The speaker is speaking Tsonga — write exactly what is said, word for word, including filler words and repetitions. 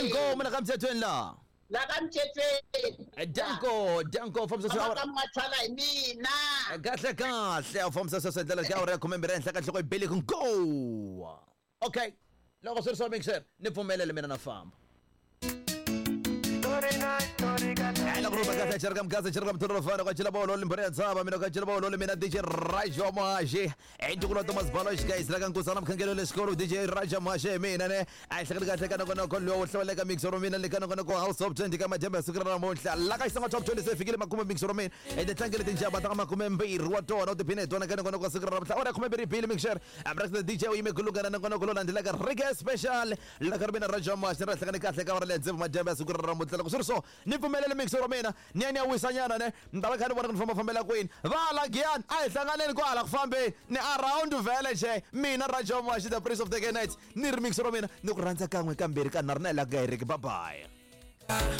Inkomu la ka mthethweni la. La ka mthethweni. Danko, danko fambisa swa. Ka mathala hi mina. Kahle kahle u fambisa swa ndlela ka awara ya khume mbirhi henhla ka nhloko yi bele ku go. Okay. Loko swi ri swa mixer, ni pfumelele mina na famba. D J Raja Maje guys D J Raja Maje mina ne a hleketa kahle ka noko lowo hlawuleka mix ro mina le ka noko house top twenty ka madyambu siku ra namuntlha la ka xisanga top twenty se fikile makume mix ro mina ende tlangele tinjaba ta makume mbirhi wa tona u tiphine hi tona ka noko siku ra namuntlha ora khume mbirhi bili mixer amra D J u yime kulungana na noko lo landzelaka reggae special la ka mina Raja Maje ra hlangane kahle ka wara le ndzeve madyambu siku ra namuntlha loko swi ri so ni pfumelele mix ro mina ni ya ni ya wisanyana ne ni ta va kha ni vona ku ni famba fambela kwini va la giyani a hi hlanganeni kwala ku fambeni ni around vele nje mina Raja Mashi the prince of the night ni ri mix ro mina ni ku rhandza kan'we kambirhi ka nharhu na hi la ku nga heriki bye bye.